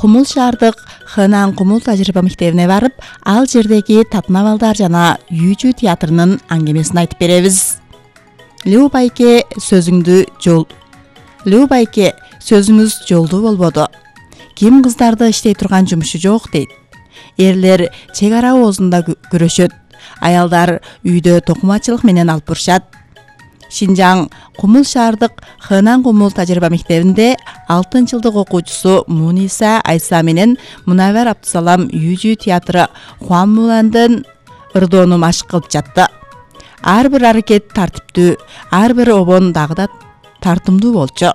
Кумул шаардык Хэнан Кумул тажрыйба мектебине барып, ал жердеги татына балдар жана Үйчү театрынын аңгемесин айтып беребиз. Лүү байке, сөзүңүз жолдуу болбоду. Ким кыздарды иштей турган жумушу жок дейт. Эрлер чек ара оозунда күрөшөт. Аялдар үйдө токумачылык менен алып бурушат. Шинжаң Кумул шаардык Хэнан Кумул тажрыйба мектебинде 6-жылдык окуучусу Муниса Айса менен Мунавер Абдусалам Үйчү театры Хуамуландын ырдоону машык кылып жатты. Ар бир аракет тартиптүү, ар бир обон дагы да тартымдуу болчу.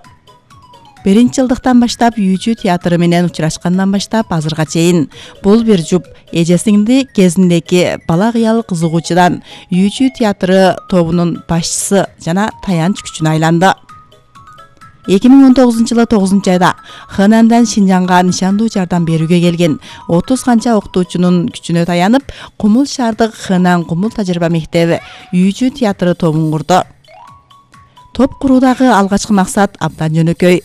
1-жылдыктан баштап Үйчү театры менен учурашкандан баштап азырга чейин бул бир жуп эжесинди кезиндеги бала кыял кызыгуучудан Үйчү театры тобунун башчысы жана таянч күчүнө айланды. 2019-жылы 9-айда Хэнандан Шинжаңга нишандуу жардам берүүгө келген 30 канча окутуучунун күчүнө таянып, Кумул шаардык Хэнан Кумул тажрыйба мектеби Үйчү театры тобун курду. Топ куруудагы алгачкы максат абдан жөнөкөй.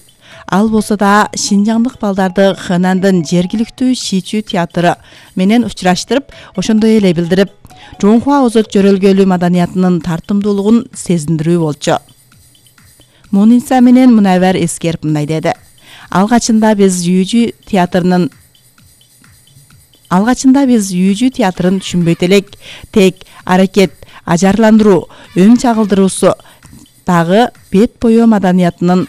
Ал болсо да шинжаңдык балдарды Хэнандын жергиликтүү Шичү театры менен учураштырып, ошондой эле билдирип, Жонхуа озот жөрөлгөлүү маданиятынын тартымдуулугун сезиндирүү болчу. Муниса менен Мунавер эскерип мындай деди. Алгачында биз Үйчү театрын түшүнбөйт элек. Тек аракет, ажарландыруу, өң чагылдыруусу дагы бет бою маданиятынын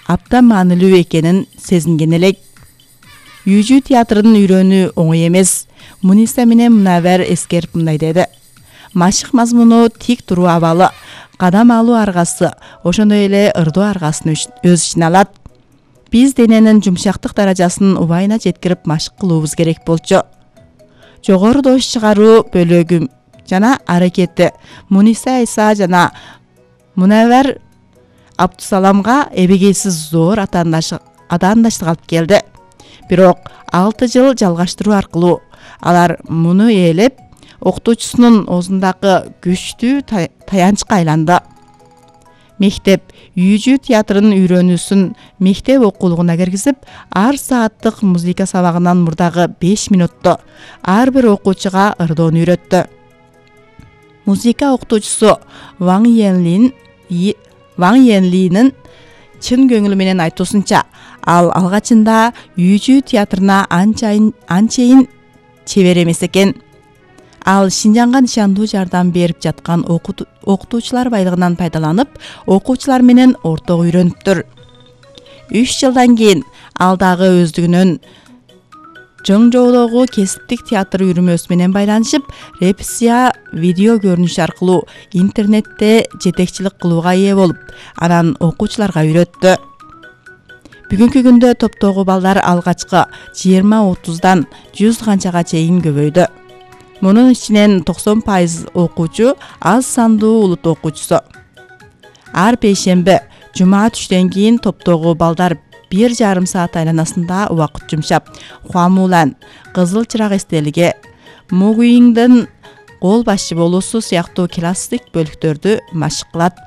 абдан маанилүү экенин сезинген элек. Үйчү театрын үйрөнүү оңой эмес. Муниса менен Мунавер эскерип мындай деди. Машык мазмуну тик туруу абалы, кадам алуу аргасы, ошондой эле ырдоо аргасын өз ичине алат. Биз дененин жумшактык даражасын убайына жеткирип машык кылуубуз керек болчу. Жогору доош чыгаруу бөлүгү жана аракети Муниса Айса жана Мунавер Абдусаламга эбегейсиз зор атаандаштык алып келди. Бирок 6 жыл жалгаштыруу аркылуу алар муну ээлеп, окутуучусунун оозундагы күчтүү таянчка айланды. Мектеп Үйчү театрын үйрөнүүсүн мектеп окуулугуна киргизип, ар сааттык музыка сабагынан мурдагы 5 мүнөттө ар бир окуучуга ырдоону үйрөттү. Музыка окутуучусу Ваң Йенлинин чын көңүлү менен айтуусунча, ал алгачында Үйчү театрына анчейин чебер эмес экен. Ал Шинжаңга нишандуу жардам берип жаткан окутуучулар байлыгынан пайдаланып, окуучулар менен орток үйрөнүптүр. 3 жылдан кийин ал дагы өздүгүнөн Жоңжоодогу кесиптик театр үйрүмөсү менен байланышып, репрессия видео көрүнүш аркылуу интернетте жетекчилик кылууга ээ болуп, анан окуучуларга үйрөттү. Бүгүнкү күндө топтогу балдар алгачкы 20-30дан 100 канчага чейин көбөйдү. Мунун ичинен 90% окуучу аз сандуу улут окуучусу. Ар бейшемби, жума түштөн кийин топтогу балдар 1,5 саат айланасында убакыт жумшап, Хуамулан, Кызыл чырак эстелиги, Мугуиңдин кол башчы болуусу сыяктуу классик бөлүктөрдү машык кылат.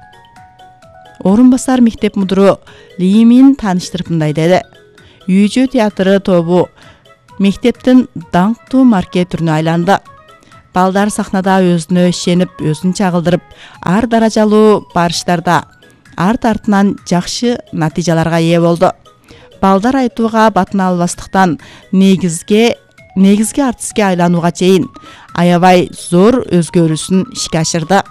Орун басар мектеп мудуру Лимин тааныштырып мындай деди. Үйчү театры тобу мектептин даңктуу марке түрүнө айланды. Балдар сахнада өзүнө ишенип, өзүн чагылдырып, ар даражалуу барыштарда арт артынан жакшы натыйжаларга ээ болду. Балдар айтууга батына албастыктан негизги артистке айланууга чейин аябай зор өзгөрүүсүн ишке ашырды.